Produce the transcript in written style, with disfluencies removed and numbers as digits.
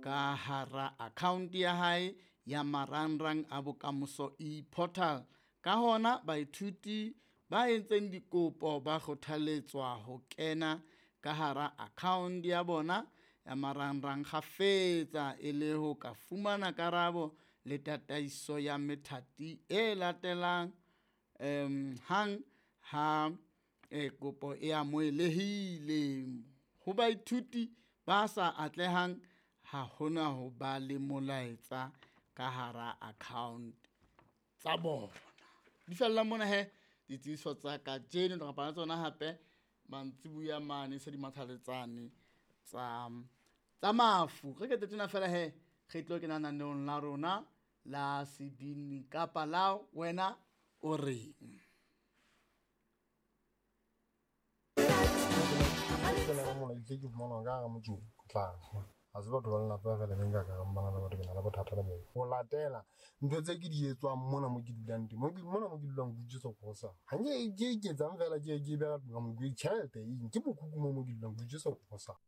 ka hara account ya hae ya marangrang a Bokamoso e-portal. Ka hona baithuti ba entseng dikopo ba kgothaletswa ho kena ka hara account ya bona ya marangrang kgafetsa e le ho ka fumana karabo le tataiso ya methati e latelang hang ha kopo e amohelehile. Ho baithuti ba sa atlehang ha hona ho ba le molaetsa ka hara account tsa bona. Di fella mona he ditsebiso tsa kajeno re bapala tsona hape mantsibuya mane se di mathaletsane tsa tsa mafu. Re kete tjena fela he re tlo kena naneong la rona la sebini kapa la wena o reng. Ke na molaetsa ke fumana ka hara motse tla ha se batho ba lelapa fela be nka ka bana le batho ke na le bothata le bona. Ho latela ntho tse ke di etswang mona mo ke dulang teng, mona mo ke dulang ke utswetsa grocery. Ha nke ke iketsang fela ke beha ka tjhelete eng ke mokhukhu mo mo ke dulang ke utswetsa grocery.